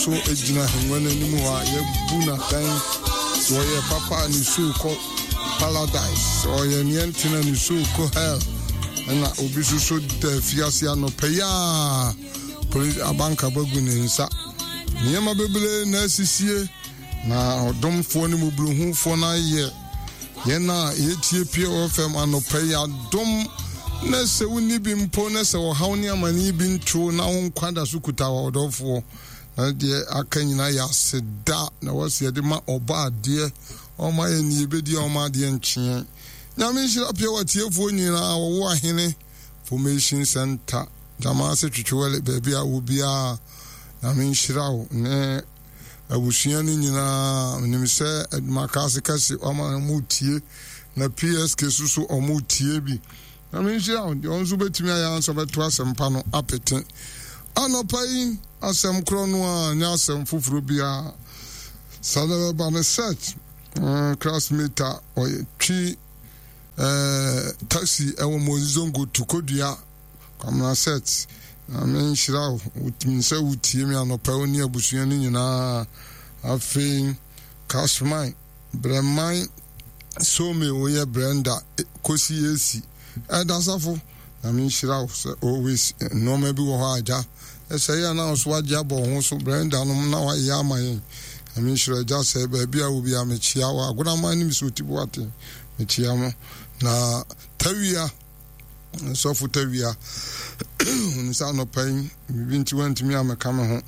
So gyina ahengua no anim hɔ a yɛabu no atɛn. Sɛ ɔyɛ papa a ne soul kɔ paradise, sɛ ɔyɛ neɛ ntena ne soul kɔ hell. Ɛna obi nso so da afiase anɔpa yi a polisi abanka bagu ne nsa. Nneɛma bebree na asisie na ɔdomfoɔ ne mmɔborɔhufoɔ no ayɛ yɛn a yɛtie Pure FM anɔpa yi adom na sɛ wonni bi mpo na sɛ ɔhaw ne amanneɛ bi nto na wo nkwa da so kuta ɔdɔfoɔ na deɛ aka nyinaa yɛ aseda na wɔsi yɛde ma ɔbɔ adeɛ ɔma yɛ ne yɛbɛdi a ɔma adeɛ nkyeɛ. Nyame nhyira Pure atiefoɔ nyinaa wɔwɔ ahene Formation Center Gyamaase Twetwewɛle baabi a wɔ biara. Nyame nhyira wo ne abusua no nyinaa. Menim sɛ adwumakaase kɛse ɔma ɔmo tie na PSK so so ɔmo tie bi. Nyame nhyira wo. Deɛ ɔno nso bɛtumi ayɛ ansa bɛto asɛmpa no apete. Anɔpa yi asɛm korɔ no a nyɛ asɛm foforɔ biara. Saa na bɛba no set classmate a ɔyɛ twi eh, taxi ɛwɔ Mozongo to Kodua Kwamina Set. Nyame nhyira wo. Wotumi sɛ wotie me anɔpa wo ne abusua no nyinaa. Afei Cashman, Brɛman, Some woyɛ Brenda, Kosi Esi, Ɛda Safo. Nyame nhyira wo sɛ always nneɛma bi wɔ hɔ a agya ɛsɛ yɛ na so wagye abɔ wo ho so Brenda nom na wayɛ ama yɛn. Nyame nhyira agya sɛ baabi a wo bi a mekyia wo Agonaman ne Mesoti Boateng mekyia mo na Tawia Sɔfo Tawia, hunu sɛ anɔpa yi biribi nti wantumi ammɛka me ho,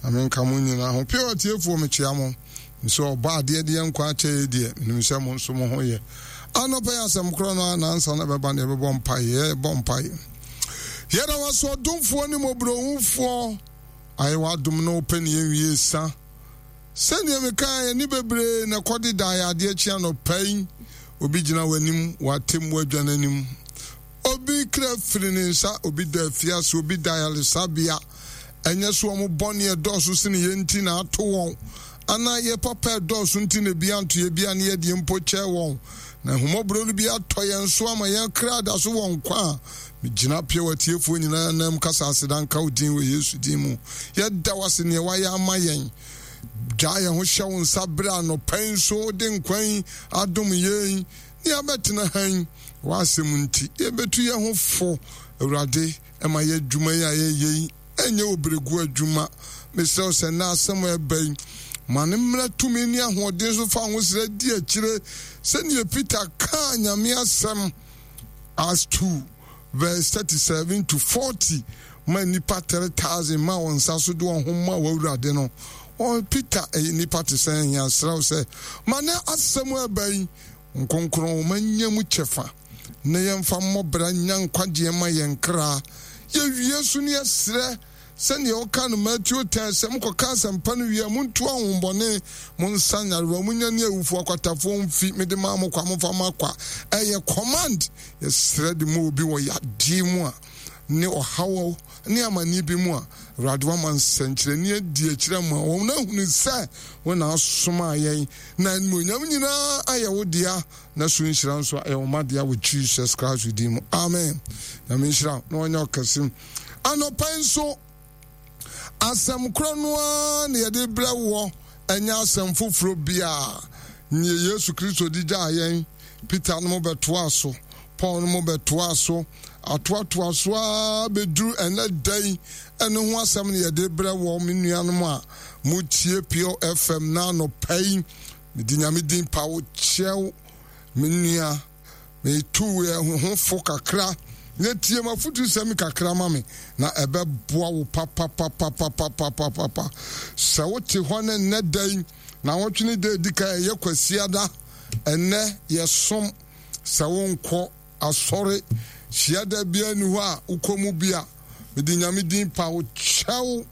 na menka mo nyinaa ho. Pure atiefoɔ, mekyea mo. Nso ɔbɔ adeɛ deɛ nkwa akyɛ yɛ deɛ, menim sɛ mo nso mo ho yɛ. Anɔpa yi asɛm korɔ no a nansa na ɛbɛba no yɛbɛbɔ mpaeɛ, yɛbɔ mpaeɛ. Yɛda wo ase ɔdomfoɔ ne mmɔborɔhufoɔ, ayɛ w'adom na wopɛ ne yɛnwie sa. Sɛdeɛ mekaeɛ, ani bebree na ɛkɔdedaeɛ adeɛ kye anɔpa yi. Obi gyina w'anim wɔ atemmuo adwa no anim. Obi kra firi ne nsa, obi da afiase, obi da ayaresabea. Ɛnyɛ sɛ wɔn bɔne ɛdɔɔso sene yɛn nti na ato wɔn, anaa yɛn papa ɛdɔɔso nti na ebi anto yɛn bi a ne yɛdeɛ mpo kyɛɛ wɔn. Na ahummɔborɔ no bi atɔ yɛn so ama yɛn kra da so wɔ nkwa a. Megyina pia wɔ atiefoɔ nyinaa anam kasa aseda nka wo din wɔ Yesu din mu. Yɛda wo ase neɛ woayɛ ama yɛn. Gyaa yɛn ho hyɛ wo nsa berɛ a anɔpa yi nso wode nkwa yi adom yɛn ne yɛabɛtena ha yi. W'asɛm nti yɛbɛtu yɛn ho fo. Awurade, ma yɛ adwuma yi a yɛyɛ yi ɛnyɛ obrɛguo adwuma. Mesrɛ wo sɛ nnɛ asɛm a ɛba yi, ma no mmra tumi ne ahoɔden so fa ahosrɛ di akyire sɛdeɛ Peter kaa Nyame asɛm Acts 2 verse 37 to 40 ma nnipa 3000 ma wɔn nsa so de wɔn ho ma w'Awurade no. Ɔ Peter ɛyɛ nnipa te sɛ yɛn asrɛ wo sɛ ma ne asɛm a ɛba yi nkonkron ma nya mu kyɛfa na yɛmfa mmɔ bra nya nkwagyeɛ ma yɛn kra. Yɛwie so ne yɛsrɛ Sɛdeɛ wɔka no Mateo 10 sɛ, Mokɔka asɛmpa no wie a, montu ahonhommɔne, monsa nyarewa, monyane awufoɔ, akwatafoɔ mfi, mede maa mo kwa, momfa mma kwa. Ɛyɛ command. Yɛsrɛ de ma obi wɔ yadeɛ mu a, ne ɔhaw ne amanneɛ bi mu a, Awurade wama nsɛnkyerɛnne adi akyire ama wɔn ahunu sɛ wo na asomaa yɛn, na animuonyam nyinaa ayɛ wo dea, na so nhyira nso ayɛ wo mma dea wɔ Jesus Christ din mu. Amen. Nyame nhyira wo na ɔnyɛ ɔkɛse. Anɔpa yi nso, asɛm korɔ no ara na yɛde brɛ woɔ, ɛnyɛ asɛm foforɔ biara. Neɛ Yesu Kristo de gyaa yɛn, Peter no mo bɛtoa so, Paul no mo bɛtoa so, atoatoa so ara bɛduru ɛnɛ da yi, ɛno ho asɛm na yɛde brɛ woɔ, me nuanom a motie Pure FM na anɔpa yi. Mede Nyame din pa wo kyɛw, me nua. Metu yɛn ho fo kakra na tie m'afotusɛm kakra ma me, na ɛbɛboa wo papapapapapapapa. Sɛ wote hɔ ne nnɛ da yi, na wɔtwe ne da edi kan ɛyɛ Kwasiada, ɛnnɛ yɛsom. Sɛ wonkɔ asɔre hyiada biara nni hɔ a wokɔ mu bi a, mede Nyame din pa wo kyɛw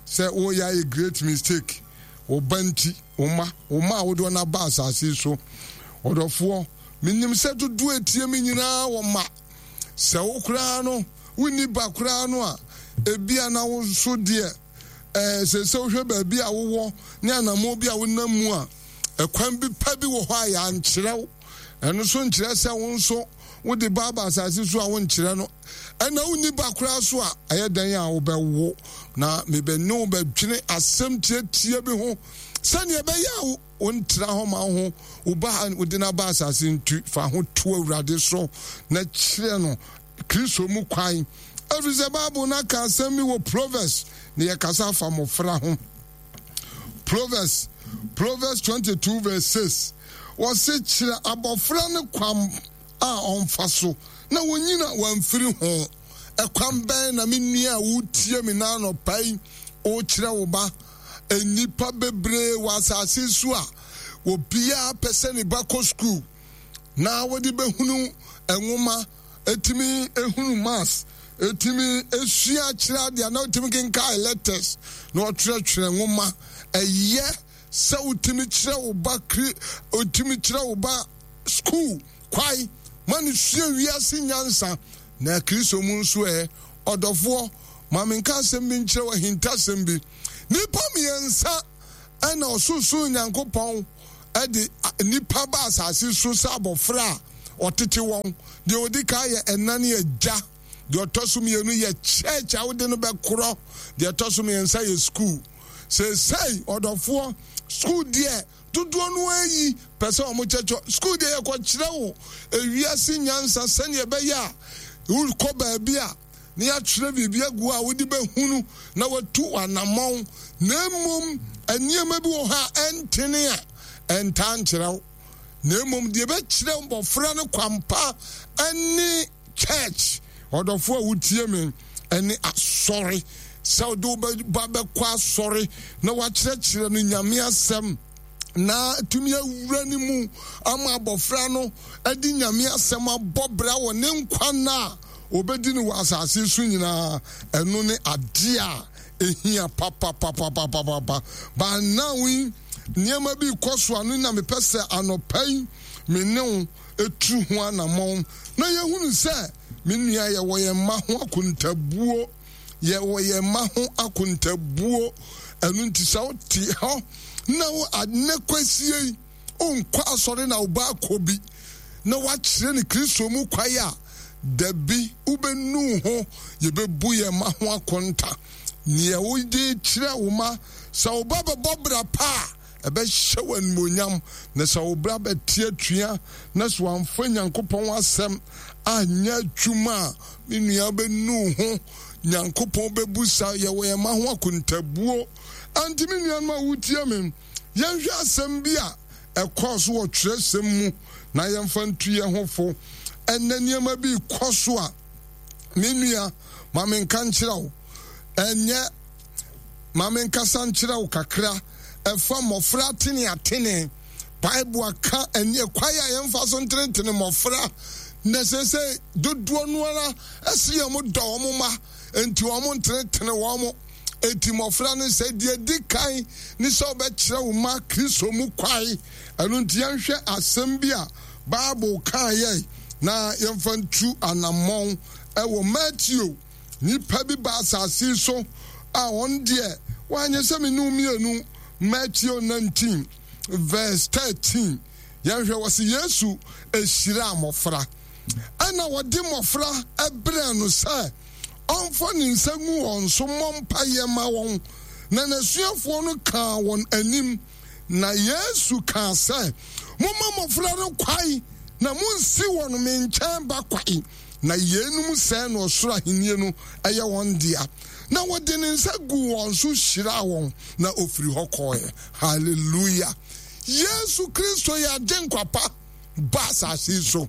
sɛ woreyɛ ayɛ great mistake. Wo ba nti, wo mma, wo mma a wode wɔn aba asase yi so, ɔdɔfoɔ, Menim sɛ dodoɔ a ɛtie me nyinaa wɔ mma. Sɛ wo koraa no, wonni ba koraa no a, ebia na wo nso deɛ, ɛɛ, sɛ sɛ wohwɛ baabi a wowɔ ne anammɔn bi a wonam mu a, ɛkwan bi pa bi wɔ hɔ a yɛankyerɛ wo. Ɛno nso nkyerɛ sɛ wo nso wode ba aba asase so a wonkyerɛ no. Ɛna wonni ba koraa so a, ɛyɛ dɛn a wobɛwo? Na mebɛne wo bɛdwene asɛm tiatia bi ho sɛdeɛ ɛbɛyɛ a wontra hɔ ma wo ho wo ba a wode no aba asase ntu fa ho to Awurade so na kyerɛ no Kristo mu kwan. Ɛfiri sɛ Bible no aka asɛm bi wɔ Proverbs na yɛkasa afa mmɔfra ho. Proverbs, Proverbs 22 verse 6 wɔse kyerɛ abɔfra no kwan a ɔmfa so na wɔnyina wamfiri ho. Ɛkwan bɛn na me nua a woretie me na anɔpa yi wokyerɛ wo ba? Nnipa bebree wɔ asase so a obiara pɛ sɛ ne ba kɔ sukuu na wɔde bɛhunu nwoma, ɛtumi ehunu maths, ɛtumi esua akyerɛ adeɛ na ɔtumi kenkan letters na ɔtwerɛtwerɛ nwoma. Ɛyɛ sɛ wotumi kyerɛ wo ba kri wotumi kyerɛ wo ba sukuu kwae ma no sua wiase nyansa na Kristo mu nso ɛ. Ɔdɔfoɔ, ma menka asɛm bi nkyerɛ wo, ahintasɛm bi. Nnipa mmiɛnsa ɛna ɔsorosoro Nyankopɔn de nnipa ba asase so sɛ abɔfra a ɔtete wɔn. Deɛ ɔdi kan yɛ ɛna ne agya. Deɛ ɔtɔ so mmienu yɛ church a wode no bɛkorɔ. Deɛ ɛtɔ so mmiɛnsa yɛ school. Seesei, ɔdɔfoɔ, school deɛ dodoɔ no ara yi pɛ sɛ wɔn kyɛkyɛ. School deɛ yɛkɔkyerɛ wo ewiase nyansa sɛdeɛ ɛbɛyɛ a wokɔ baabi a na yɛatwerɛ biribi agu a wode bɛhunu na watu w'anammɔn, na mmom nneɛma bi wɔ hɔ a ɛntene a ɛntaa nkyerɛ wo, na mmom deɛ ɛbɛkyerɛ mmɔfra no kwampa ne church. Ɔdɔfoɔ a wotie me, ɛne asɔre, sɛ wode wo ba bɛkɔ asɔre na wakyerɛkyerɛ no Nyame asɛm na atumi awura ne mu ama abɔfra no de Nyame asɛm abɔ bra wɔ ne nkwa nna a ɔbɛdi no wɔ asase so nyinaa, ɛno ne adeɛ a ɛhia papapapapapa. But now yi, nneɛma bi kɔ so ano na mepɛ sɛ anɔpa yi me ne wo ɛtu ho anammɔn na yɛhunu sɛ, me nua, yɛwɔ yɛn mma ho akontabuo. Yɛwɔ yɛn mma ho akontabuo. Ɛno nti sɛ wote hɔ na wo anɛ kwasie yi wonkɔ asɔre na wo ba akɔ bi na woakyerɛ no Kristo mu kwae a, dabi, wobɛnu ho. Yɛbɛbu yɛn mma ho akonta. Neɛ wode kyerɛ wo ma, sɛ wo ba bɛbɔ bra pa a, ɛbɛhyɛ wo animuonyam, na sɛ wo bra bɛte atua na sɛ wamfa Nyankopɔn asɛm anyɛ adwuma a, me nua wobɛnu wo ho. Nyankopɔn bɛbu sa yɛwɔ yɛn mma ho akontabuo. Ɛnti me nuanom a wotie me, yɛnhwɛ asɛm bi a ɛkɔɔ so wɔ twerɛsɛm mu na yɛmfa ntu yɛn ho fo. Ɛnnɛ nneɛma bi rekɔ so a, me nua, ma menka nkyerɛ wo, ɛnyɛ Ma menkasa nkyerɛ wo kakra ɛfa mmɔfra ateneatene. Bible aka ɛne kwan a yɛmfa so ntenetene mmɔfra. Na seesei dodoɔ no ara ɛse yɛn dɔ wɔn mma, enti wɔn ntenetene wɔn. Enti mmɔfra no sɛ deɛ ɛdi kan ne sɛ wobɛkyerɛ wo mma Kristo mu kwae. Ɛno nti yɛnhwɛ asɛm bi a Bible kaeɛ na yɛmfa ntu anammɔn ɛwɔ Mateo Nnipa bi ba asase yi so a wɔn deɛ wɔanyɛ sɛ me ne wo mmienu. Matthew 19 verse 13. Yɛnhwɛ wɔ se Yesu ehyiraa mmɔfra. Ɛna wɔde mmɔfra brɛɛ no sɛ ɔmfa ne nsa ngu wɔn so mmɔ mpaeɛ ma wɔn. Na n'asuafoɔ no kaa wɔn anim. Na Yesu kaa sɛ, Momma mmɔfra no kwae, na monnsi wɔn me nkyɛn ba kwae, na yeinom sɛɛ na ɔsoro ahennie no yɛ wɔn dea. Na ɔde ne nsa guu wɔn so hyiraa wɔn, na ɔfiri hɔ kɔeɛ. Hallelujah! Yesu Kristo yɛ Agyenkwa pa ba asase yi so.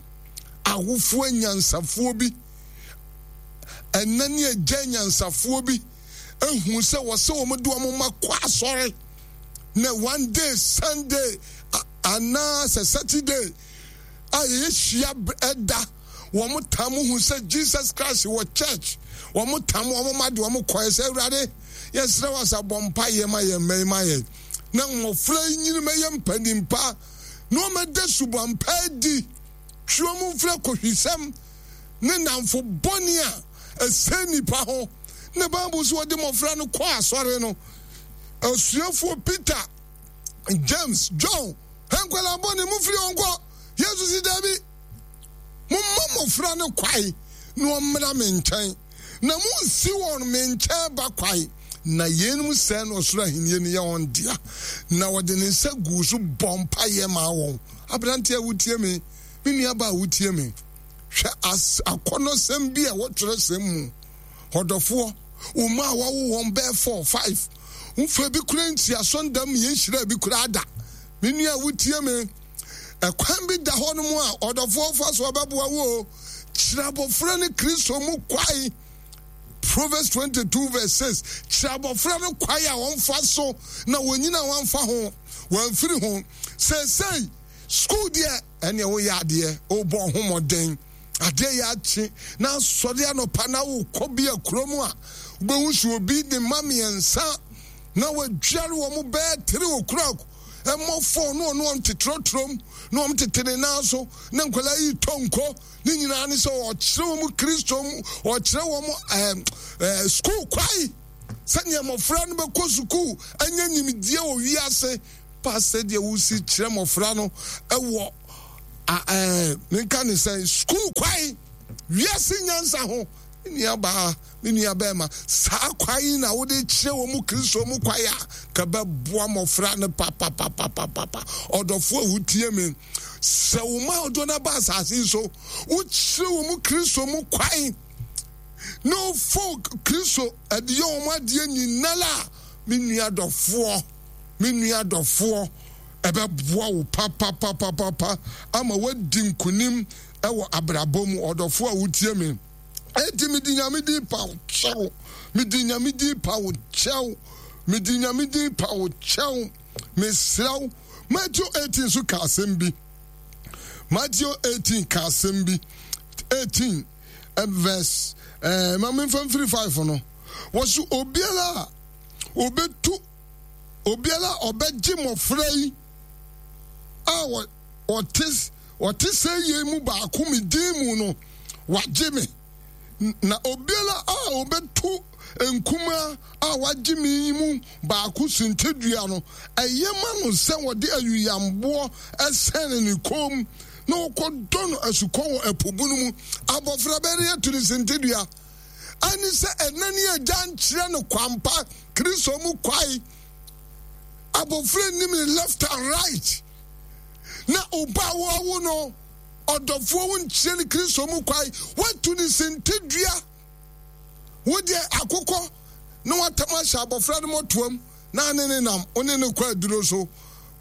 Awofoɔ anyansafoɔ bi, ɛna ne agya anyansafoɔ bi, ehu sɛ wɔsɛ wɔn de wɔn mma kɔ asɔre na one day Sunday anaa sɛ Saturday a yɛyɛ hyia ɛda wɔn tam hu sɛ Jesus Christ wɔ church wɔn tam wɔn mma de wɔn kɔɛ sɛ Awurade yɛsrɛ wɔ sɛ bɔ mpa yɛ ma yɛn mma yi ma yɛn na mmɔfra yi nyini mɛyɛ mpanimpa na wɔn ɛda suban pa adi twe wɔn mfiri akɔhwisɛm ne nnamfo bɔne a ɛsɛe nnipa ho. Na Bible sɛ wɔde mmɔfra no kɔ asɔre no, asuafoɔ Peter, James, John, nkwadaa bɔne mofiri wɔn kɔ. Yesu si daabi, momma mmɔfra no kwae na wɔmmra me nkyɛn, na monsi wɔn me nkyɛn ba kwae. Na yeinom sɛɛ na ɔsoro ahennie no yɛ wɔn dea. Na ɔde ne nsa guu so bɔɔ mpaeɛ maa wɔn. Aberanteɛ a wotie me, me nuabaa a wotie me, hwɛ as akɔnnɔsɛm bi a ɛwɔ twerɛsɛm mu. Ɔdɔfoɔ, wo mma a wɔawo wɔn bɛyɛ four, five, womfa bi koraa nsi asɔndam ma yɛnhyiraa bi koraa da. Me nua a wotie me, ɛkwan bi da hɔ nom a ɔdɔfoɔ fa so ɔbɛboa wo o. Kyerɛ abɔfra no Kristo mu kwae. Proverbs 22 verse 6 kyerɛ abɔfra no kwae a ɔmfa so na wɔnyina wɔamfa ho, wɔamfiri ho. Seesei, sukuu deɛ, ɛneɛ woyɛ adeɛ, wobɔ ho mmɔden. Adeɛ yɛ akye na asɔre anɔpa na wokɔ bi a kurom a, wobɛhu sɛ obi ne mma mmiɛnsa na wadware wɔn bɛyɛ 3 o'clock mmɔ 4 na ɔne wɔn te trɔtrɔm na wɔn tete ne nan so na nkwadaa yi tɔ nko. Ne nyinaa ne sɛ ɔkyerɛ wɔn Kristo mu, ɔkyerɛ wɔn ɛɛ ɛɛ sukuu kwae sɛnea mmɔfra no bɛkɔ sukuu anya nimdeɛ wɔ wiase pa sɛdeɛ wosi kyerɛ mmɔfra no ɛwɔ ɛɛ menka ne sɛ sukuu kwae wiase nyansa ho. Me nua baa, me nua bɛrima, saa kwae yi na wode kyerɛ wɔn mu Kristo mu kwae a ka bɛboa mmɔfra no papapapapapa. Ɔdɔfo a wotie me, sɛ wo ma ɔdɔ no aba asase yi so, wokyerɛ wɔn mu Kristo mu kwae na wofo Kristo ɛde yɛ wɔn adeɛ nyinara a, me nua dɔfoɔ, me nua dɔfoɔ, ɛbɛboa wo papapapapa ama woadi nkonim ɛwɔ abrabɔ mu. Ɔdɔfoɔ a wotie me, enti mede Nyame din pa wo kyɛw, mede Nyame din pa wo kyɛw, mede Nyame din pa wo kyɛw, mesrɛ wo. Matthew 18 nso ka asɛm bi. Matthew 18 ka asɛm bi. 18 eh, verse eh, ma memfa mfiri 5 no. Wɔso obiara a obetu obiara a ɔbɛgye mmɔfra yi a wɔte wɔte sɛ yei mu baako me din mu no, wagye me. Na obiara a ɔbɛto nkumaa a wagye me yi mu baako suntidua no, ɛyɛ ma no sɛ wɔde ayuyamboɔ sɛne ne kɔn mu na wɔkɔdɔ no asukɔ wɔ ɛpo bunu mu. Abɔfra bɛn atu ne suntidua? Ɛne sɛ ɛna ne agya nkyerɛ no kwampa, Kristo mu kwae. Abɔfra nnim ne left and right. Na ɔba a wɔawo no ɔdɔfoɔ wo nkyerɛ no Kristo mu kwae. Woatu ne sintidua. Wo deɛ akokɔ na watam ahyɛ abɔfra no mɔtoam na ne ne nam wo ne no kɔ aduro so.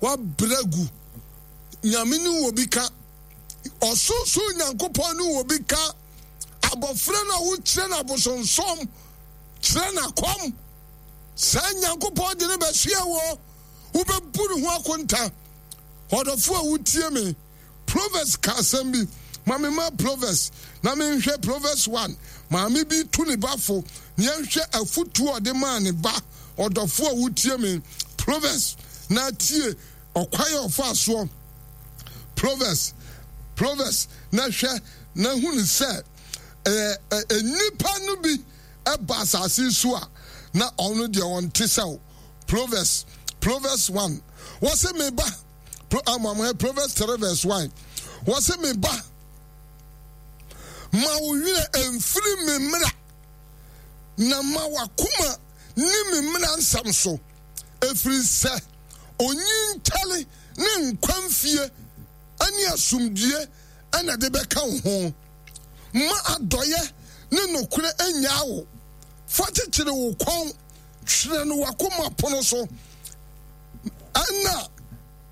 Wabrɛ gu. Nyame ne wɔ bi ka. Ɔsorosoro Nyankopɔn ne wɔ bi ka. Abɔfra no a wokyerɛ no abosonsom, kyerɛ no akɔm. Saa Nyankopɔn de no bɛsoɛ wɔ. Wobɛbu ne ho akonta. Ɔdɔfo a wotie me, Proverbs ka asɛm bi. Ma me ma Proverbs na menhwɛ Proverbs 1. Maame bi tu ne ba fo na yɛnhwɛ afotu a ɔde maa ne ba. Ɔdɔfo a wotie me, Proverbs na tie ɔkwan a ɔfaa soɔ. Proverbs, Proverbs na hwɛ na hunu sɛ ɛɛ nnipa no bi ba asase so a na ɔno deɛ ɔnte sɛ wo. Proverbs, Proverbs 1. Wɔse me ba, Pro, um, Proverbs 3 verse 1. Wɔse me ba, ma wo werɛ mfiri me mmara, na ma w'akoma ni me mmara nsɛm so, ɛfiri sɛ onyinkyɛre ne nkwa mfie ne asomdwie na de bɛka wo ho. Ma adɔeɛ ne nokorɛ nnyaa wo. Fa kyekyere wo kɔn, twerɛ no w'akoma pono so. Ɛnna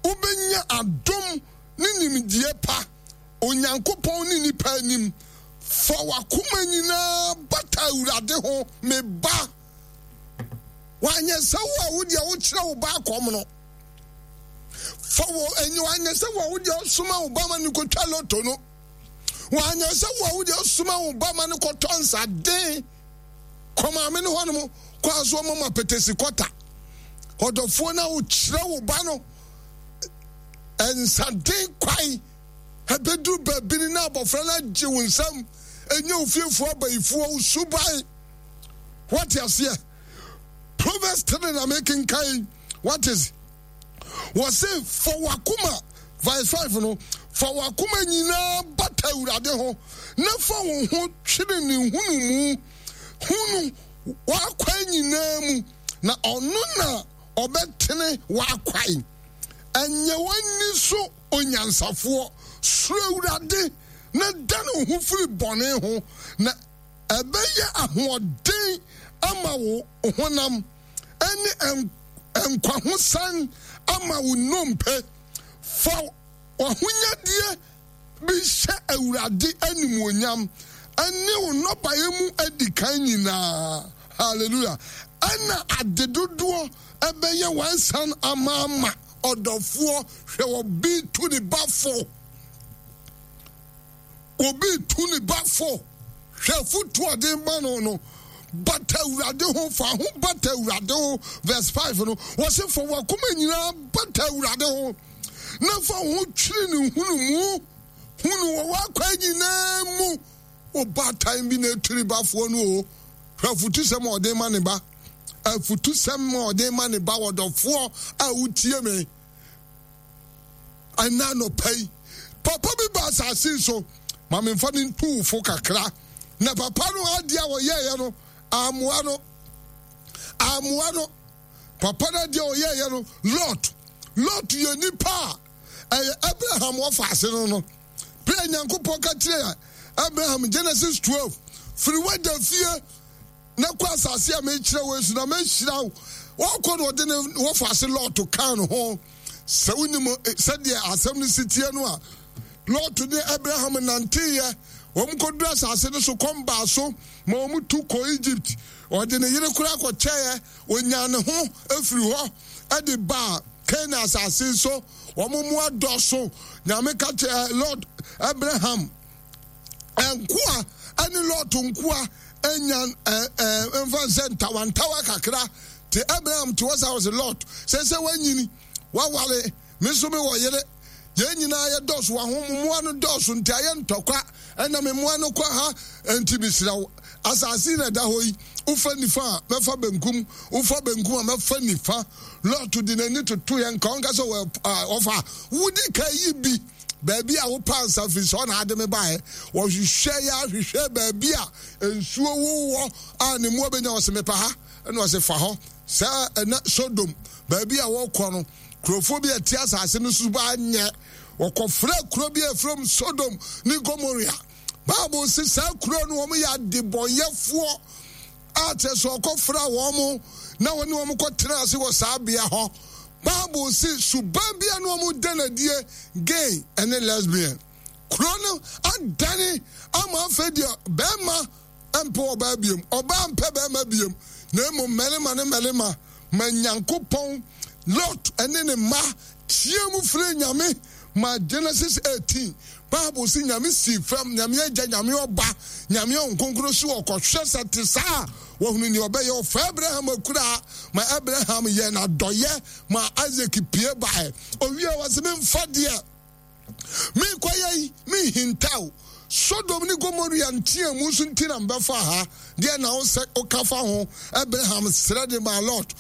wobɛnya adom ne nimdeɛ pa Onyankopɔn ne nnipa anim. Fa w'akoma nyinaa bata Awurade ho, me ba. Wanyɛ sɛ wo a wo deɛ wokyerɛ wo ba akɔm no. Fa wɔ ɛnyɛ wanyɛ sɛ wo a wo deɛ ɔsoma wo ba ma no kɔtwa loto no. Wanyɛ sɛ wo a wo deɛ ɔsoma wo ba ma no kɔtɔ nsaden kɔ maame no hɔnom kɔ aso ɔma ma petesi kɔta. Ɔdɔfoɔ no a wokyerɛ wo ba no nsaden kwae ɛbɛduru baabi no na abɔfra no agye wo nsam ɛnyɛ wo fiefoɔ abayifoɔ wo suban. Wate aseɛ? Proverbs 3 na mekenkan. What is? Wɔse fa w'akoma, verse 5 no, fa w'akoma nyinaa bata Awurade ho na fa wo ho twere ne nhunumu. Hunu w'akwan nyinaa mu. na ɔno na ɔbɛtene w'akwan. Ɛnyɛ w'ani so onyansafoɔ. Suro Awurade na dane wo ho firi bɔne ho, na ɛbɛyɛ ahoɔden ama wo honam ne nkwahosan ama wo nnompe. Fa w'ahonyadeɛ bi hyɛ Awurade animuonyam ne wo nnɔbaeɛ mu adikan nyinaa. Hallelujah. Ɛna ade dodoɔ ɛbɛyɛ w'ansan amaama. Ɔdɔfoɔ, hwɛ obi tu ne ba fo. Obi tu ne ba fo. Hwɛ afotu a ɔde ma no no. Bata Awurade ho, fa ho bata Awurade ho. Verse 5 no, wɔse fa w'akoma nyinaa bata Awurade ho, na fa wo ho twere ne nhunumu. Hu no wɔ w'akwan nyinaa mu. Ɔbaatan bi na etu ne bafoɔ no o. Hwɛ afotusɛm a ɔde ma ne ba. Afotusɛm a ɔde ma ne ba, ɔdɔfoɔ a wotie me ɛna anɔpa yi. Papa bi ba asase so, ma memfa no ntu wo fo kakra. Na papa no adeɛ a ɔyɛeɛ no, amoa no. Amoa no. Papa no adeɛ a ɔyɛeɛ no, Lot. Lot yɛ nipa a ɛyɛ Abraham wɔfa ase no no. Bere a Nyankopɔn ka kyerɛɛ Abraham, Genesis 12, firi w'agya fie na kɔ asase a mekyerɛ wo so na mɛhyira wo. Ɔkɔ na ɔde ne wɔfa ase Lot kaa ne ho. Sɛ wonim eh, sɛdeɛ asɛm no si teɛ no a, Lot ne Abraham nanteeɛ. Wɔn kɔduru asase no so, kɔm baa so ma wɔn tu kɔ Egypt. Ɔde ne yere koraa kɔkyɛeɛ. Ɔnyaa ne ho firi hɔ de baa Canaan asase so. Wɔn mmoa dɔso. Nyame ka kyerɛ eh, Lot, Abraham nkoa ne Lot nkoa anya eh, eh, mfa nsɛ ntawantawa kakra. Te Abraham te hɔ saa ɔsɛ Lot, sɛ sɛ wanyini, waware, me nso mewɔ yere. Yɛn nyinaa yɛ dɔso, wahom mmoa no dɔso nti ayɛ ntɔkwa. Ɛna me mmoa no kɔ ha, nti mesrɛ wo, asase na ɛda hɔ yi, wofa nifa a, mɛfa benkum, wofa benkum a, mɛfa nifa. Lot de n'ani toto yɛn nka ɔnka sɛ ɔfa wodi ka yi bi baabi a wopɛ ansa firi sɛ ɔna ade me baeɛ. Wɔhwehwɛ yɛ ahwehwɛ baabi a nsuo wowɔ a ne mmoa bɛnya. Ɔse mepɛ ha, ɛna ɔse fa hɔ. Sɛ ɛna Sodom baabi a wɔkɔ no, kurofoɔ bi a ɛte asase no so ba nyɛ. Wɔkɔfrɛ kuro bi a ɛfrɛ mu Sodom ne Gomoria. Bible se saa kuro no wɔn yɛ adebɔnyɛfoɔ a kyerɛ sɛ ɔkɔfra wɔn na wɔne wɔn kɔtena ase wɔ saa bea hɔ. Bible se suban bi a na wɔn da no adie, gay ne lesbian. Kuro no adane ama afei deɛ bɛrima mpɛ ɔbaa biom, ɔbaa mpɛ bɛrima biom, na mmom mmarima ne mmarima. Ma Nyankopɔn, Lot ne ne mma teɛ mu frɛ Nyame ma Genesis 18. Bible se Nyame sii fam, Nyame Agya, Nyame Ɔba, Nyame Honhom Kronkron se ɔkɔhwɛ sɛ te saa a, wahunu nea ɔbɛyɛ. Ɔfaa Abraham akuraa ma Abraham yɛɛ no adɔyɛ ma Isaac pue bae. Owie a ɔse memfa deɛ merekɔyɛ yi menhintaw. Sodom ne Gomoria nteamu so nti na mebɛfaa ha. Deɛ na wo sɛ woka fa ho? Abraham srɛ de maa Lot.